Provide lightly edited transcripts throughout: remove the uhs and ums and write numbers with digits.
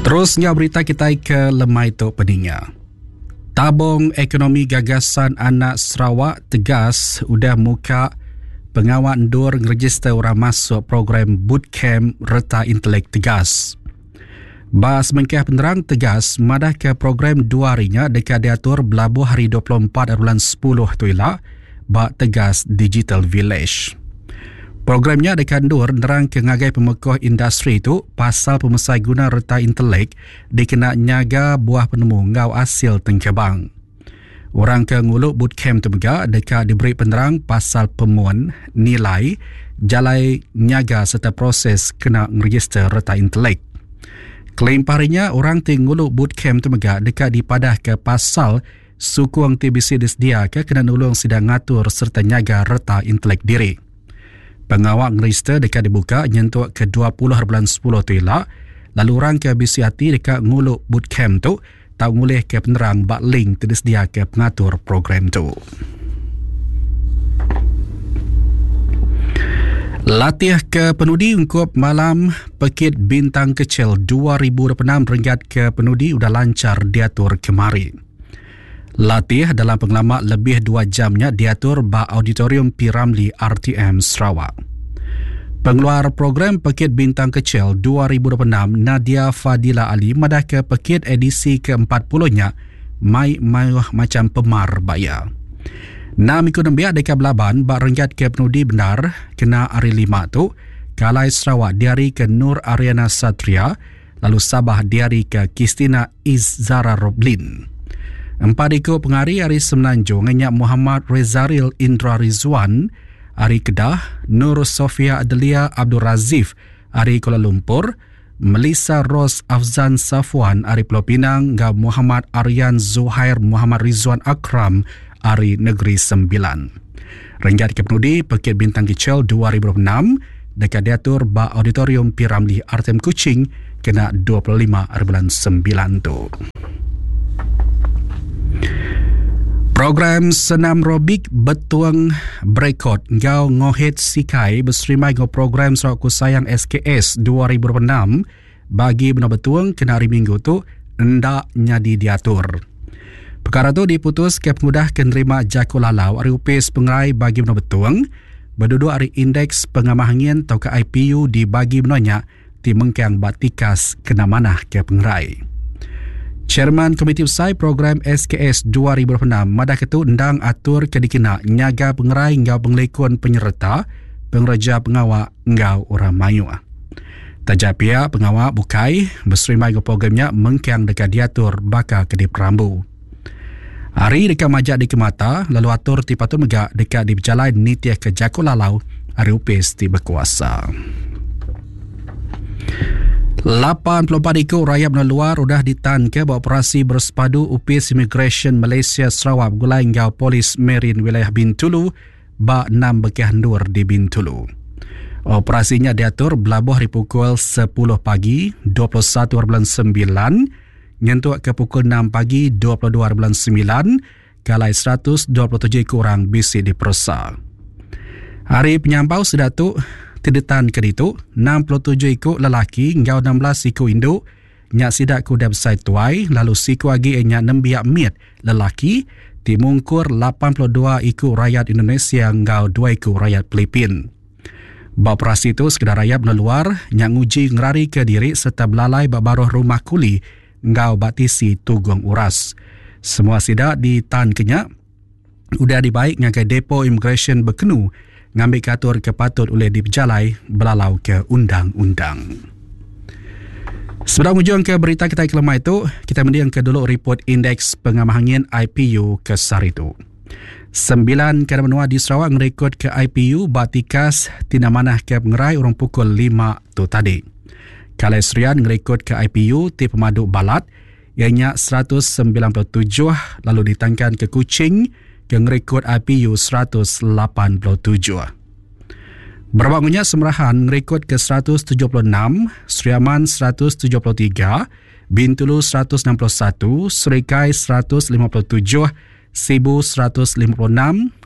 Terus enggau berita kitai ke lemai tu peninga. Tabung Ekonomi Gagasan Anak Sarawak tegas udah muka pengawa endur ngerejister orang masuk program bootcamp Reta Intelek Tegas. Ba semengkah penerang Tegas madahka program dua hari nya deka diatur belabuh hari 24 bulan 10 tu ila ba Tegas Digital Village. Program nya deka endur nerangka ngagai pemekoh industri tu pasal pemesai guna reta intelek dikena nyaga buah penemu enggau asil tengkebang. Orang ke ngulu bootcamp tu mega deka diberi penerang pasal pemun, nilai, jalai nyaga sereta proses kena ngerejister reta intelek. Kelimpah ari nya, orang ti ngulu bootcamp tu mega deka dipadahka pasal Sukung ti bisi disediaka kena nulung sida ngatur sereta nyaga reta intelek diri. Pengawa ngerejister deka dibuka nyentuk ke 20 bulan sepuluh tu ila lalu orang ke bisi ati deka ngulu bootcamp tu tau ngulihka penerang ba link ti disediaka pengatur program tu. Latih ke penudi ungkup malam Pekit Bintang Kecil 2026 renggat ke penudi udah lanchar diatur kemari. Latih dalam pengelama lebih dua jam nya diatur ba Auditorium P. Ramlee RTM Sarawak. Pengeluar program Pekit Bintang Kecil 2026 Nadia Fadila Ali madahka pekit edisi ke-40 nya mai mayuh macham pemar ba iya. Enam iku nembiak deka belaban ba renggat ke penudi bendar kena Hari Lima tu, ke alai Sarawak diarika Nur Ariana Satria lalu Sabah diarika Qistina Izzara Roblin. Empat iku pengari ari Semenanjung iya nya Muhammad Rezaril Indra Rizwan ari Kedah, Nur Sofia Adelia Abdul Razif ari Kuala Lumpur, Melissa Rose Afzan Safwan ari Pulau Pinang enggau Muhammad Aryan Zuhair Muhammad Rizwan Akram ari Negeri Sembilan. Renggat ke penudi Pekit Bintang Kecil 2026 deka diatur ba Auditorium P. Ramlee RTM Kuching kena 25 hari bulan 9 tu. Program Senam Robik Betung Berekod enggau Ngohet Sikai beserimbai enggau program Sarawakku Sayang SKS 2026 bagi Menua Betung kena hari Minggu tu enda nyadi diatur. Pekara tu diputuska pengudah ke nerima jaku lalau ari Opis Pengerai Bagi Menua Betung beduduk ari Indeks Pengamah Angin tauka IPU di bagi menua nya ti mengkang ba tikas kena manah ke pengerai. Chairman Komiti Besai Program SKS 2026 madah ke tu endang atur ke dikena nyaga pengerai enggau pengelikun penyereta, pengereja pengawa enggau orang mayuh. Taja pia pengawa bukai beserimbai enggau program nya mengkang deka diatur baka ke diperambu. Hari deka majak dikemata lalu atur ti patut mega deka dipejalai nitihka jaku lalau ari opis ti bekuasa. 84 iku rayat menua luar udah ditanka ba operasi bersepadu Opis Imigresen Malaysia Sarawak begulai enggau Polis Marin Wilayah Bintulu ba enam bekah endur di Bintulu. Operasi nya diatur belabuh ari pukul 10 pagi 21 bulan 9 Nyentuk ke pukul enam pagi 22 bulan semilan, ke alai 127 iku orang bisi diperesa. Ari penyampau sida tu ti ditanka ditu, 67 iku lelaki enggau 16 iku indu nya sida ke udah besai tuai lalu siku agi iya nya nembiak mit lelaki ti mungkur 82 iku rayat Indonesia enggau dua iku rayat Filipin. Ba operasi tu sekeda rayat menua luar nya nguji ngerarika diri sereta belalai ba baruh rumah kuli enggau ba tisi tugung uras. Semua sida ditanka nya udah dibai ngagai Depo Imigresen Bekenu ngambika atur ke patut ulih dipejalai belalauka undang-undang. Sebedau ngujungka berita kitai ke lemai tu, kitai mendingka dulu ripot Indeks Pengamah Angin IPU ke sehari tu. Sembilan kandang menua di Sarawak ngerekodka IPU ba tikas ti enda manah ke pengerai urung pukul lima tu tadi. Kalai Serian ngerekodka IPU ti pemadu balat iya nya 197 lalu ditangkanka Kuching ke ngerekod IPU 187. Berabak enggau nya Semerahan ngerekodka 176, Sri Aman 173, Bintulu 161, Serikai 157, Sibu 156,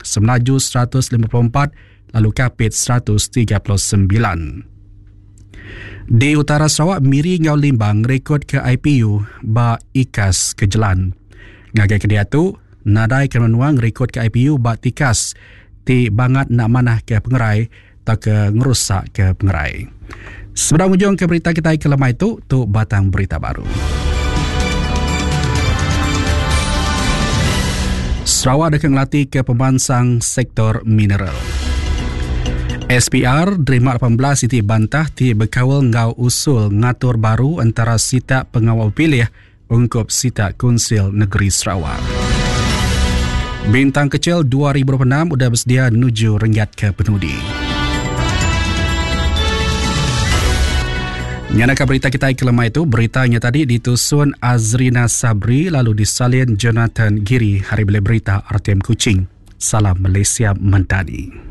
Semelaju 154 lalu Kapit 139. Di utara Sarawak, Miri enggau Limbang ngerikodka IPU ba ikas ke jelan. Ngagai ke diatu, nadai ke menua ngerikodka IPU ba tikas ti bangat enda manah ke pengerai tauka ngerusakka pengerai. Sebedau ngujungka berita kitai ke lemai tu, tu batang berita baru. Sarawak deka ngelatihka pemansang sektor mineral. SPR nerima 18 iti bantah ti bekaul enggau usul ngatur baru entara sitak pengawa bepilih ungkup sitak Kunsil Negeri Sarawak. Bintang Kecil 2026 udah besedia nuju renggat ke penudi. Nyanaka berita kitai ke lemai tu, berita nya tadi ditusun Azrina Sabri lalu disalin Jonathan Giri hari beli berita RTM Kuching. Salam Malaysia Mentani.